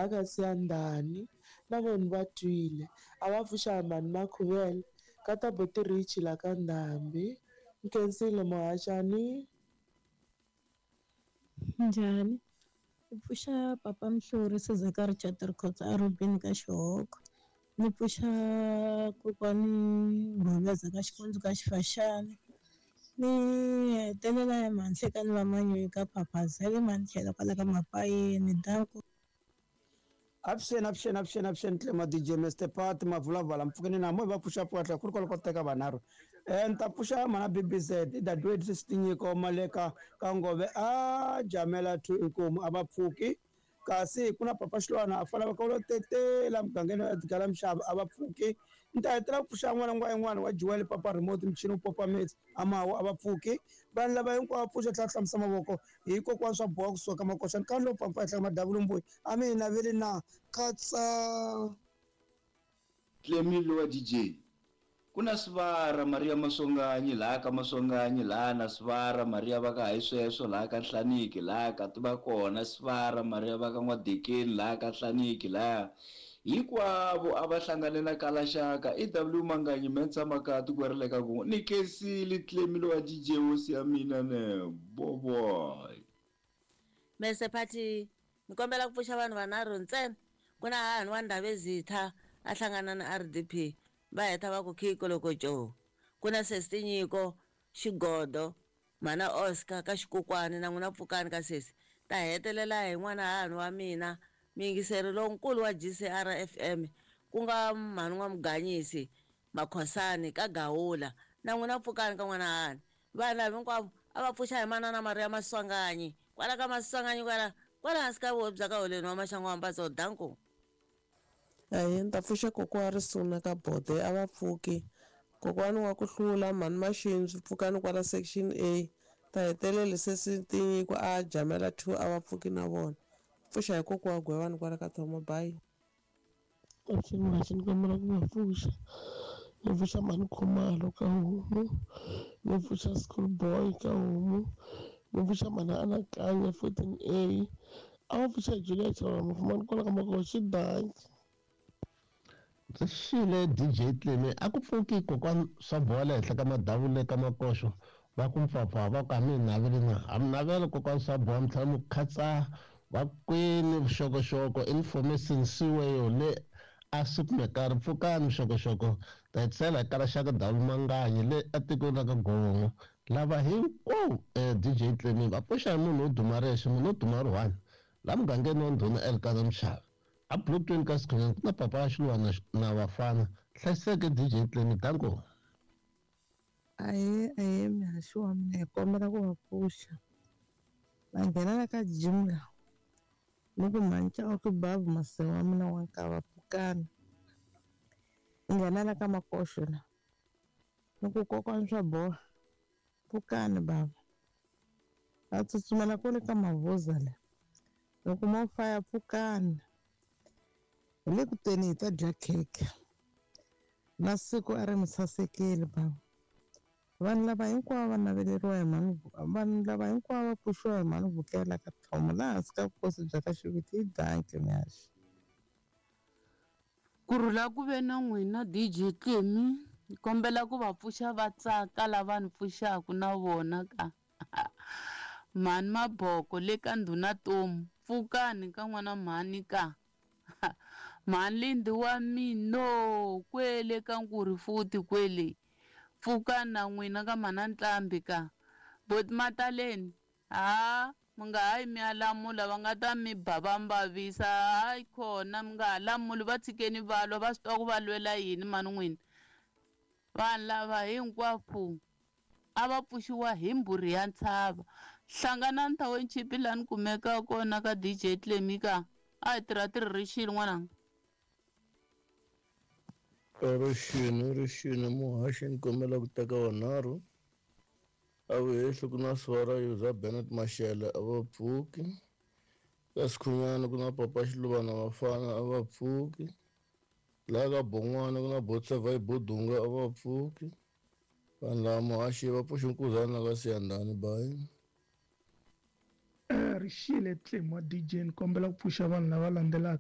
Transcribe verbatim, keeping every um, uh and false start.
laha ka Siyandhani na vona va twile a va pfuxa hi mhani Makhuvele ka ta buti Richie la ka Ndhambi nkhensile muhaxani. Njhani? Ni pfuxa papa Mhlori Sizeka Richard Rikhotso a Rubini ka Xihoko. Ni pfuxa kokwani Goveza ka Xikundzu ka Xifaxani. Ni hetelela hi Mhanhlekani va Manyunyu ka Phaphazele Mantlhelo kwala ka Mapayeni danko. Avuxeni avuxeni avuxeni avuxeni Tlema D J Mister Pat Mavulavala mpfukeni na mo va pfuxa pfuka ku ri kwala ko teka vanharhu. Eh ni ta pfuxa mana B B Z Dadewethu Sesitinyiko Maleka ka Ngove a Jamela two inkomu a va pfuki kasi ku na Papa Xilwana a fanele va ka lo tetela mugangeni wa Edgar Mshava a va pfuki. Ni ta hetelela ku pfuxa n'wana n'wana yin'wana wa Joel Papa Remote michini wu popa metsi a mawa a va pfuki. Vanhu lava hinkwavo va pfuxa tlhela hlamusa mavoko hikokwalaho swa boha kusuka makoxani ka lowu pampa ehenhla ka madavulumbuyi a mi hi naveli na katsa. Clemilo wa D J ku na Sivara Maria Maswanganyi laha ka Maswanganyi laha na Sivara Maria va ka hayi sweswo laha ka Nhlaniki laha ka tiva kona Sivara Maria va ka N'wadekeni laha ka Nhlaniki laha hinkwavo a va hlangane na Kalaxaka I W Manganyi Mensa Makati ku ri le ka ku ni khensile Clemilo wa D J hosi ya mina ne boboy. Mese Phathi ni kombela ku pfuxa vanhu vanharhu ntsena ku na hahani wa Ndhavezitha a hlangana na R D P va heta va ku khiko loko jo ku na sesi Tinyiko Xigodo mana Oscar ka Xikokwani na n'wina pfukani ka sesi ta hetelela hi n'wana hahani wa mina muyingiseri lonkulu wa G C R F M ku nga mhani wa Muganyisi Makhosani ka Gawula na n'wina pfukani ka n'wana hahani vanhu lava hinkwavo a va pfuxa hi manana Maria Maswanganyi kwala ka Maswanganyi kwala kwala hansi ka vuhosi bya ka Holeni wa Maxangu wa Mbatso danko. Ahee ni ta pfuxa kokwana Risuna ka Bode a va pfuki kokwani wa ku hlula mhani Maxindzu pfukani kwala section A ta hetelela sesi Tinyiko a Jamela two a va pfuki na vona pfuxa hi kokwa wa Gwewani kwala ka Thomo bye. Avuxeni muhaxi ni kombela ku va pfuxa ni pfuxa mhani Khumalo ka homu ni pfuxa school boy ka homu ni pfuxa mhani Anakanya fourteen A a va pfuxa Julia Chauke mufumani kwala ka Makoxi danki. Ndzi xile D J Cleme a ku pfuki kokwani swa boha le henhla ka madavule ka makoxo va ku mpfapfa va ku a mi naveli na a mi navela kokwani swa boha mi tlhela mi khatsa va kwini vuxokoxoko information siweyo le a swi kumeka ri pfukani vuxokoxoko ta hetisela hi Kalaxaka Dawu Manganyi le etikweni ra ka Gongo lava hinkwavo D J Cleme va pfuxa hi munhu wo duma rexe munhu wo duma ri one laha mugangeni wa Ndhuna Elkana Mshava a Brooklyn ka Sikhunyana ku na papa Xilwana na vafana hlayiseke D J Cleme danko. Ahee ahee muhaxi wa mina hi kombela ku va pfuxa va nghena la ka gym la ni ku mhani Chauke babu maseve wa mina wa nkava pfukani ni nghena la ka Makoxo la ni ku kokwani swa boha pfukani bava va tsutsumela kwale ka Mavuza la ni ku mo faya pfukani hi le ku teni hi ta dya khekhe na siku a ri mi sasekile bava vanhu lava hinkwavo va naveleriwa hi mhani vanhu lava hinkwavo va pfuxiwa hi mhani Vukela ka Thomo laha hansi ka vukosi bya ka Xiviti hi danki muhaxi. Ku rhula ku ve na n'wina D J Cleme ni kombela ku va pfuxa va tsaka lava ni pfuxaka na vona ka mhani Maboko le ka Ndhuna Tomu pfukani ka n'wana mhani ka mhani Lindi wa mino kwele ka Nkuri futhi kwele pfukani na n'wina ka mhana Ntlambi ka boti Mataleni ha mi nga hayi mi ya lamula va nga ta mi ba va mbavisa hayi khona mi nga ha lamuli va tshikeni va lwa va swi tiva ku va lwela yini mani n'wina vanhu lava hinkwavo a va pfuxiwa hi mbhuri ya ntshava hlanganani township laha ni kumekaka kona ka D J Cleme ka a hi tirha tirhi n'wananga. Rixini rixini muhaxi ni kombela ku teka vanharhu a vuhehli ku na Sivara Yuza Bennett Mashele a va pfuki ka Sikhunyana ku na Papa Xiluvana Vafana a va pfuki laha ka Bon'wana ku na Botseva Bodunga a va pfuki vanhu lava muhaxi va pfuxa nkuzana ka Siyandhani bayi. Rixile Tlema D J ni kombela ku pfuxa vanhu lava landzelaka.